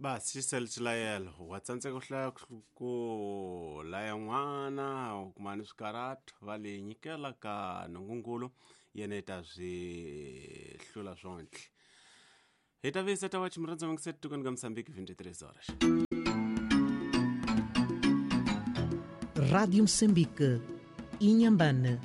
Basi xi sele xilayelo wa tsandzeka ku hlaya ku laya n'wana u kuma ni swikarhato va le nyikela ka nungungulu yena yi ta swi hlula swontlhe hi ta visa ta wa chimurhandza vangiseti tikweni ka Mozambique 23 horas. Rádio Moçambique, Inhambane.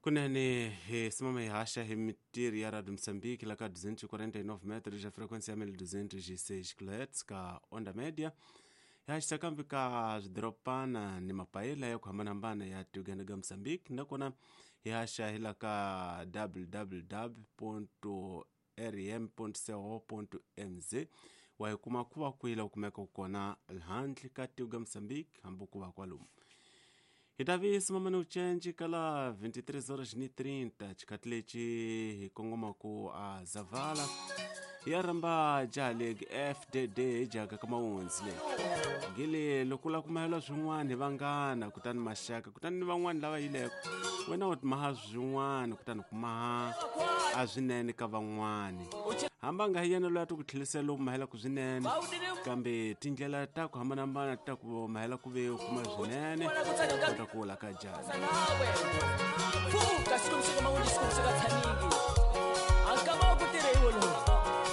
Kunene hi simama hi haxa hi mitirhi ya Radio Mozambique la ka 249 metros ya frequência ya 1206 kHz ka onda média. Hi haxisa kambe ka swidorobana ni mapayila ya ku hambanahambana ya Uganda ga Mozambique, nakona hi haxa hi la ka www rm.co.mz. Wa hi kuma ku va kwila u kumeka kona handle ka tiko ga Mozambique hambi ku va kwalomu. Hi ta vi simama ni ucenci kala 23 horas ni 30 xikhathi lexi hi kongomaka a Zavala ya rhamba jaha FDD hi jaka ka mawundzi le gile loko la kumahela swin'wana hi vanghana kutani maxaka kutani ni van'wani lava yileko wena u maha swin'wana kutani kumaha a swinene ka van'wani hamba nga hi yena loyi a ti ku tlhelisela lowu mahelaka swinene kambe tindlela ta ku hambanahambana ta ku mahela ku ve u kuma swinene kota ku wula ka jaha. Pfuka xikwembu xa ka mawundzi xikwembu xa ka tshaningi.